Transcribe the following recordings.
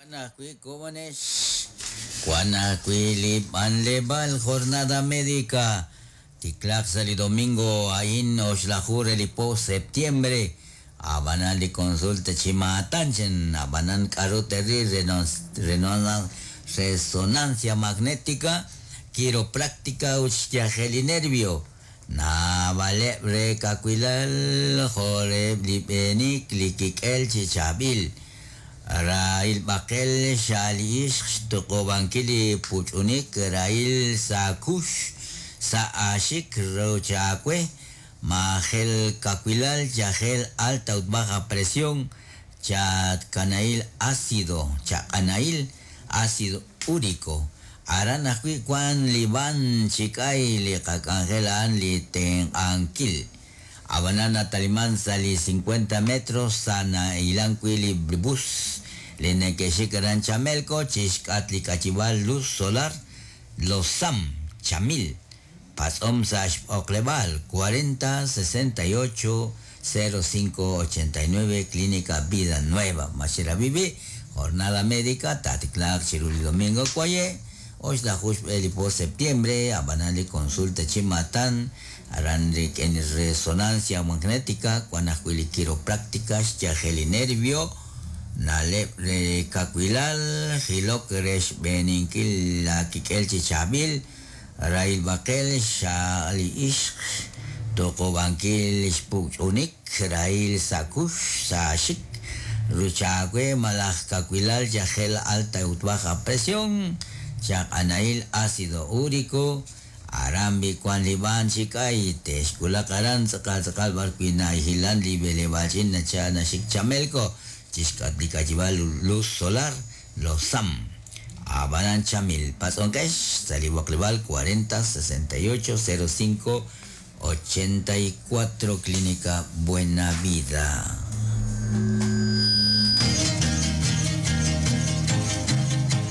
Wan ajwi' komonex, wan ajwi' li b'anleb'aal jornada médica tiklaaq sa' li domingo a'in oxlaju re li po septiembre, ab'anan li consulta chi maatan chan ab'anan k'aru te'ril resonancia magnética, quiropráctica ut xyajel li nervio. Naab'aleb' re kawilal jo' reheb' li b'eenik li kik'el chi chaab'il. Rahil b'aqel xa'al li ixq xtuqub'ankil li puch'unik rahil sa' kux sa' aaxik ruch aawe maajel kawilal yajel alta ut baja presión chatkanahil ácido chaq'anahil ácido úrico aran ajwi' wan li b'an chi k'ay li qak'anjel a'an li tenq'ankil. Ab'anan nataliman sa' li 50 metros sa' nahilan wi' li bus li neke'xik aran Chamelco chixk'at li k'ayib'aal luz solar Los Sam Chamil patz'om sa' xb'oqleb'aal 40 68 05 89 Clínica Vida Nueva Maxerabibi jornada médica taatiklaaq chiru li domingo kwaye oxlaju xb'e li po septiembre ab'anan li consulta chi maatan aran rik'in resonancia magnética wan ajwi' li quiropráctica xyajel li nervio na'leb' re kawilal jilok re xb'eeninkil la kik'el chi chaab'il rahil b'aqel xa'al li ixq tuqub'ankil xpuk'ch'unik rahil sa' kux sa' xik ruch aawe malaj kawilal yajel alta ut baja presión chaq'anahil ácido úrico aran b'i wan li b'an chi k'ay te'xwulaq aran tz'aqal tz'aqal b'ar wi' nahilan li b'eleb'aal ch'iich' nacha naxik Chamelco chixk'at li k'ayib'aal luz solar Los Sam ab'anan Chamil patz'onqex sa' li b'oqleb'aal 40 68 05 84 Clínica Buena Vida.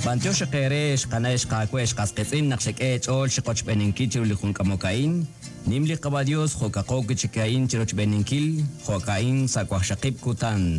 B'antiox eere xqana xqaawe xqasqitz'in naq xek'e ch'ool xiqochb'eninkil chiru li junk'amok a'in nim li Qaba Dios jo'kaqo kichik a'in chirochb'eninkil jo'ka'in sa' wajxaqib' kutan.